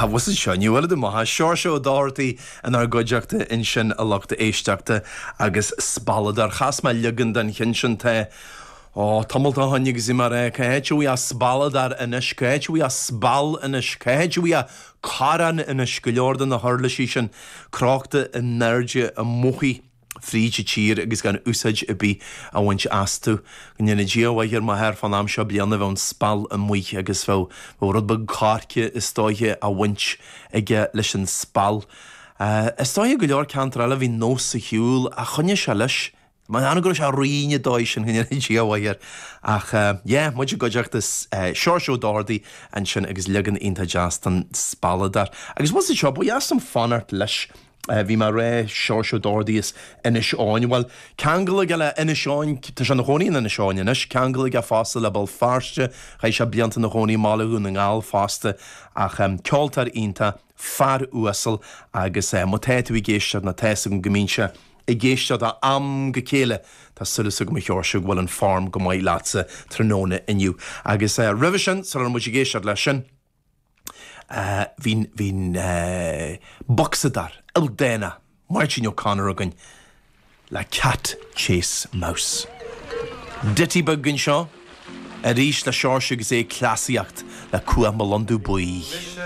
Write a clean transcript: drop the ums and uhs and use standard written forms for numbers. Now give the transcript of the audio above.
Ach bhfuil fhios seo, ní bhfuil tú maith. Seoirse Ó Dochartaigh inár gcuideachta ansin a lucht éisteachta agus Spalladóir. Chas mé leagan den cheann sin tá, ó, tamalt ó shoin agus bhí mé ag rá, cá háit a bhfuil a' spalladóir anois, cá háit a bhfuil a' speal anois, cá háit a bhfuil a' corrán anois, go leor de na huirlisí sin crochta in airde amuigh. fríd an tír agus gan úsáid ar bith á bhaint astu. Go ndéana Dia a mhaith ar m'athair fán am seo bliana bheadh an speal amuigh agus bheadh bheadh rud beag coirce is dóiche á bhaint aige leis an speal. Is dóiche go leor ceantar eile bhí nós ar shiúl ach choinnigh sé leis. M'anam go raibh sé righin an dóigh sin go ndéana Dia a mhaith air. Ach yeah, muid i gcuideachta Seoirse Ó Dochartaigh ansin agus leagan iontach deas den Spalladóir. Agus bhfuil fhios seo, ba dheas liom fanacht leis. Bhí mé ag rá Seoirse Ó Dochartaigh as Inis Eoghain. Bhuel, ceangal aige le Inis Eoghain, tá sé ina chónaí in Inis Eoghain anois, ceangal aige fosta le Béal Feirste, chaith sé blianta ina chónaí i mBaile Dhún na nGall fosta, ach ceoltóir iontach, fear uasal agus má tá tú ag éisteacht, nó tá fhios agam go mbíonn sé ag éisteacht ó am go chéile, tá súil agam a Sheoirse go bhfuil an form go maith leatsa tráthnóna inniu. Agus roimhe sin, sula raibh muid ag éisteacht leis sin, Bhí an bocsadóir ildánach Máirtín O'Connor againn le Cat Chase Mouse. Ditty beag anseo arís le Seoirse agus é ag cleasaíocht le Cuach Mo Londubh Buí.